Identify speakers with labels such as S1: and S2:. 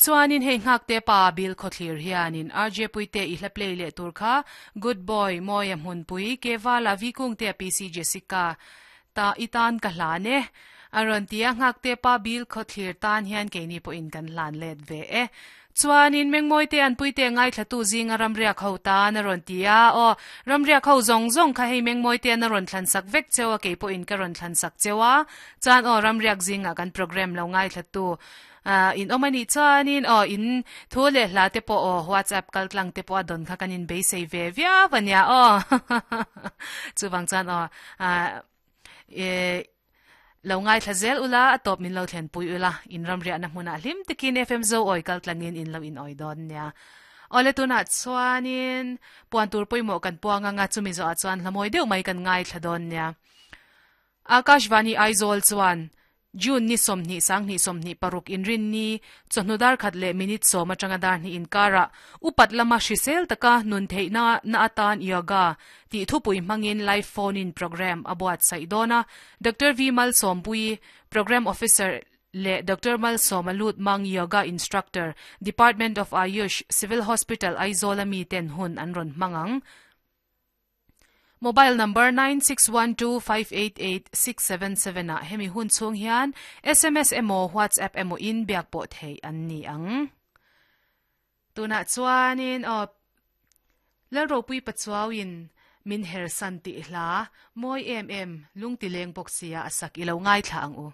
S1: Chuanin hei nghakte pa Bill Khawthlir hianin RJ Puite i hla play leh tur kha Good Boy, Mawia Hmunpui, Kevala, Vikungtea PC Jessica ta i tan ka hlan e. A rawn ti a, nghakte pa Bill Khawthlir tan hian keini pawhin kan hlan let ve e. Chuanin Mengmawite an Puite ngaithlatu zinga ramriak ho tan a rawn ti a, aw, ramriak ho zawng zawng kha hei Mengmawitean a rawn thlansak vek cheu a, kei pawhin ka rawn thlansak cheu a, chuan aw, ramriak zingah kan programme lo ngaithlatu in awm a nih chuanin aw, in thu leh hla te pawh aw, WhatsApp kal tlang te pawh a dawn kha kan inbeisei ve viau a nia aw, chuvang chuan aw, Lo ngaithla zel ula, a tawp min lo thlenpui ula, in ramriahna hmunah hlim takin FM Zo awi kal tlangin in lo in awi dawn nia. Awle tunah chuanin puan tur pawimawh kan puang anga chumi zawhah chuan hlamawi deuh mai kan ngaithla dawn nia. Akashvani Aizawl chuan June ni 20 20 26 inrinni chawhnu dar khat leh minute sawm atanga dar hnih inkarah upat lama hrisel taka nun theihna na atan yoga tih thupui hmangin live phone in programme a buatsaih dawn a, Doctor V Malsawmpuii, Programme Officer leh Doctor Malsawma Lutmang Yoga Instructor, Department of Ayush, Civil Hospital, Aizawl a miten hun an rawn hmang ang. Mobile number 9612588677 ah hemi hun chhung hian sms emaw WhatsApp emaw in biak pawh theih an ni ang. Tunah chuanin aw Lalropui Pachuauin min hersan tih hla mawi em em lungtileng bawk sia a sak i lo ngaithla ang u.